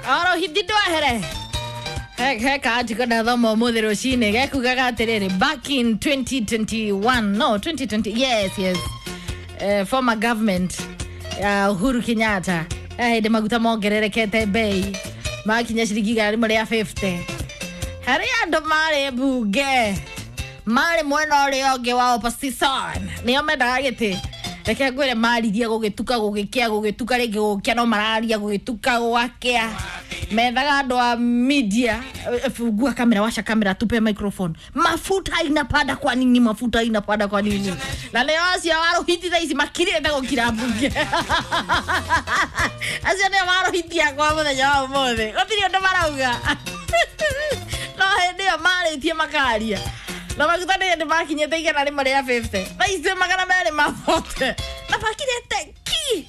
Oro hithi ndwehere he kaarticle ndathoma ũmũthĩ rũcinĩ gekugaga atĩrĩrĩ, back in 2021, no, 2020, yes, former government ya Uhuru Kenyatta, hĩndĩ maguta mongererekete bei makinya ciringi 150 harĩ andũ marĩ mbunge marĩ mwena ũrĩa ũngĩ wa opposition, nĩo mendaga gĩtĩ. Reke ngwĩre, maririe gũgĩtuka, gũgĩkĩa, gũgĩtuka rĩngĩ, gũgĩkĩa, no mararia gũgĩtuka gũgakĩa. Methaga andũ a media, "Fungua kamera, washa kamera, tupe microphone. Mafuta inapanda kwa nini? Mafuta inapanda kwa nini?" Na nĩo acio warũhiti thaa ici makirĩte gũkira mbunge. Acio nĩo marũhitia kwa mũthenya wa ũmũthĩ, gũtirĩ ũndũ marauga, no hĩndĩ ĩyo marĩtie makaria na maguta nĩ hĩndĩ makinyĩte 150, thaa ici 240, na makirĩte ki.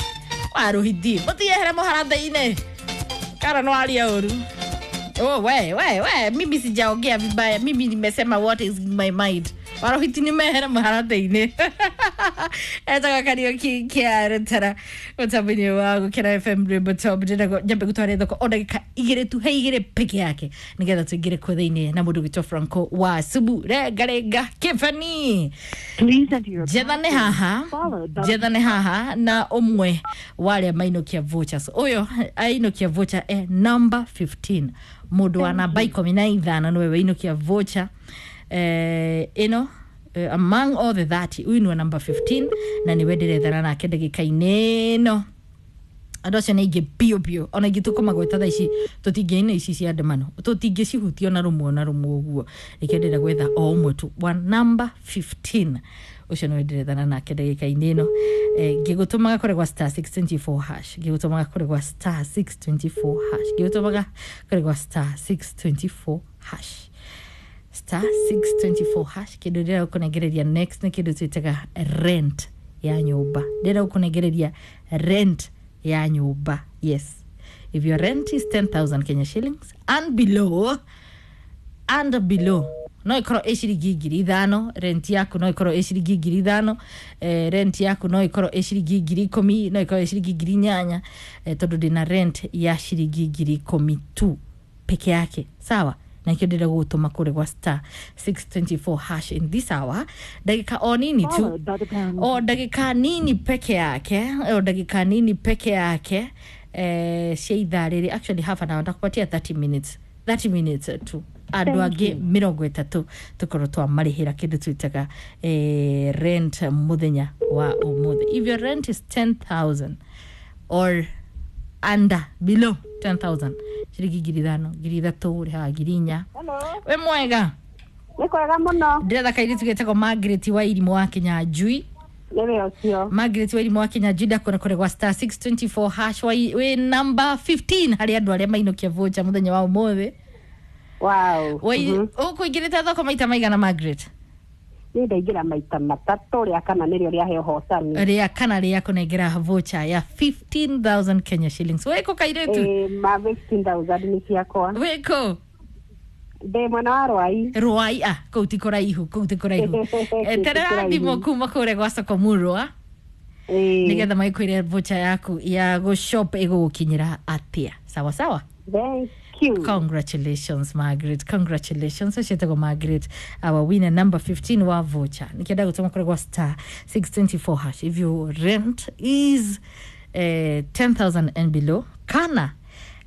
Warũhiti mũtiyehere mũharatĩ-inĩ kana no aria ũru. Oh, we we we, mimi sijaongea vibaya, mimi nimesema what is in my mind. Warohiti ni mehere mũharatĩ-inĩ. Etaga Kariũki kĩa rũtara mũtambo-inĩ wa Gũkĩra FM, rwĩmbo top. Ndĩrenda nyambe gũtware thoko o ndagĩka 2 tu, he 2 peke yake, nĩgetha tũingĩre kuo thĩinĩ na mũndũ gwĩtwo Franco wa Subu rengarenga Kĩbani. Please enter your Njethane haha, followed by njethane haha na ũmwe wa arĩa mainũkia vouchers. Ũyũ ainũkia voucher e number 15, mũndũ wa namba 15 nĩwe wainũkia voucher ĩno. Among all the 30, ũyũ nĩwe number 15 na nĩwe ndĩrethana nake ndagĩka-inĩ ĩno. Andå acio nä aingä biå biå, ona ingä tå kåmagweta thaa ici tå tingä ici cia ndemano tå tingä cihutia ona rå ona rå mwe å guo. Reke ndä gwetha o å mwe tu wa number 15, å cio nä ndärethana nake ndagä ka-inä ä no. Ngä gå tå maga kå regwa star 624 hash, ngä gå tå maga kå regwa star 624 hash, ngä gå tå maga kå regwa star 624 hash, star 624 hash. Kä ndå ndä gå kå next nä kä ndå twä taga rent ya nyũmba. Ndĩrenda gũkũnengereria rent ya nyũmba. Yes, if your rent is 10,000 Kenya shillings and below, and below, no ikorwo ĩ ciringi 5,000 rent yaku, no ikorwo ĩ ciringi 5,000, rent yaku no ikorwo ĩ ciringi 10,000, no ikorwo ĩ ciringi 8,000, tondũ ndĩna rent ya ciringi 10,000 tu peke yake, sawa? Na ikio ndĩrenda gũgũtũma kũrĩ gwa star 624 hash in this hour, ndagĩka o nini tu, followed by the pound. O ndagĩka nini peke yake, o ndagĩka nini peke yake, cia ithaa rĩrĩ, actually half an hour, ndakupatia 30 minutes, 30 minutes tu. Andũ angĩ 30 tũkorwo twamarĩhĩra kĩndũ twĩtaga rent mũthenya wa ũmũthĩ. If your rent is 10,000 or under, below 10,000, ciringi 5,000, 3,000, ũrĩhaga 4,000. Hello. Wĩ mwega? Nĩ kwega mũno. Ndĩretha kairĩtu getagwo Margaret wa Irimũ wa Kinyanjui. Nĩwe ũcio. Margaret wa Irimũ wa Kinyanjui, ndakona kũrĩ gwa star 624 hash, wĩ number 15 harĩ andũ arĩa mainũkia voucher mũthenya wa ũmũthĩ. Wow. Ũkũingĩrĩte thoko maita maigana, Margaret? Niĩ ndaingĩra maita matatũ, rĩa kana nĩrĩo rĩahe ũhotani. Rĩa kana rĩa kũnengera voucher ya 15,000 Kenya shillings. Wĩkũ, kairĩtu? Ĩĩ, ma 15,000 nĩ ciakwa. Wĩkũ? Ndĩ mwena wa Rwai. Rwai, ah, kũu ti kũraihu, kũu ti kũraihu. Kũu ti Terera kũraihu. thimũ kuma kũrĩa gwa soko murwa Ĩĩ. nĩgetha magĩkwĩre voucher yaku ya gũshop ĩgũgũkinyĩra atĩa. Sawa sawa. Thank you. Congratulations, Margaret, congratulations. Ũcio Margaret, our winner number 15 wa voucher. Nikienda gũtũma kũrĩ gwa star 624 hash. If your rent is 10,000 and below, kana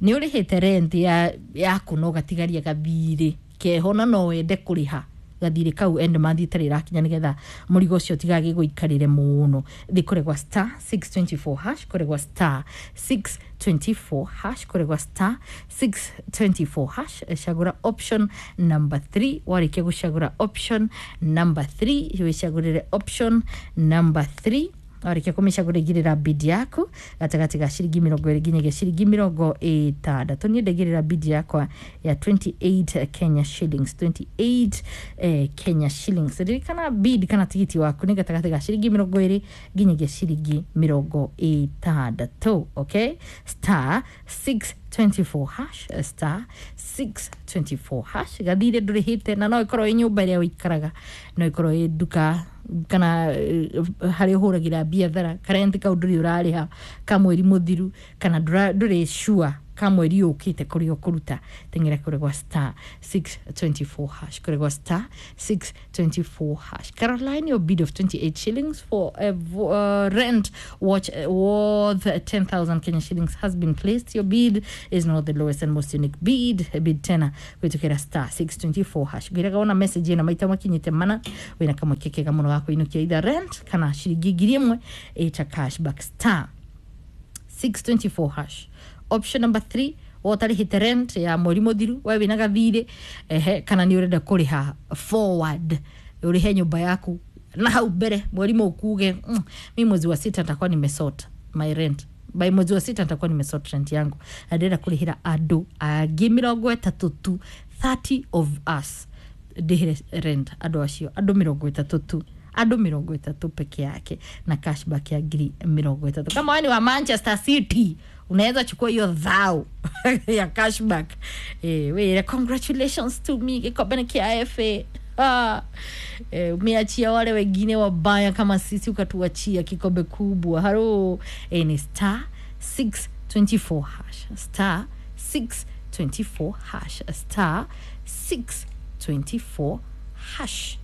nĩ ũrĩhĩte rent ya yaku no gatigaria gathirĩ keho na no wende kũrĩha gathirĩ kau end month itarĩ ĩrakinya nĩgetha mũrigo ũcio ũtigagĩgũikarĩre mũno, thĩ kũrĩ gwa star 624 hash, kũrĩ gwa star 624 hash, kũrĩ gwa star 624 hash. Cagũra option number 3. Warĩkia gũcagũra option number 3, wĩcagũrĩre option number 3. Warĩkia kũmĩcagũra, igĩrĩra bid yaku gatagatĩ ga ciringi 20 nginyagia ciringi 60. Niĩ ndaigĩrĩra bid yakwa ya 28 Kenya shillings, 28 Kenya shillings. Ririkana bid kana tigiti waku nĩ gatagatĩ ga ciringi 20 nginyagia ciringi 60. Okay, star 624 hash, star 624 hash. Gathire ndũrĩhĩte na no ĩkorwo ĩ nyũmba ĩrĩa ũikaraga, no ĩkorwo ĩ nduka kana harĩa ũhũragĩra biathara, karenti kau ndũrĩ ũrarĩha ka mweri mũthiru, kana ndũrĩ sure. Ka mweri ũkĩte kũrĩa ũkũruta, teng'era kũrĩ gwa star 624 hash, kũrĩ gwa star 624 hash. Caroline, your bid of 28 shillings for a rent watch worth 10,000 Kenya shillings has been placed. Your bid is not the lowest and most unique bid. Bid tena gwĩtũkĩra star 624 hash. Ngwĩraga wona message ĩno maita makinyĩte mana, wĩna kamweke kega mũno ga kũinũkia either rent kana ciringi 1,000 ĩta cashback. Star 624 hash, option number 3. Wotarĩhĩte rent ya mweri mũthiru, we wĩna gathirĩ, ehe, kana nĩ ũrenda kũrĩha forward, ũrĩhe nyũmba yaku na hau mbere mweri mũkuge, mi mwezi wa sita nitakuwa nimesort my rent, by mwezi wa sita nitakuwa nimesort rent yangu, na ndĩrenda kũrĩhĩra andũ angĩ 30 tu, 30 of us ndĩhĩre rent andũ acio, andũ 30 tu, andũ 30 peke yake, na cashback ya 30,000. Kama wewe ni wa Manchester City, unaweza chukua hiyo dhao ya cashback. Wĩre congratulations to me, gĩkombe nĩ kĩa FA. Ah, umeachia wale wengine wabaya kama sisi, ukatuachia kikombe kubwa. Haro, ni star 624 hash, star 624 hash, star 624 hash.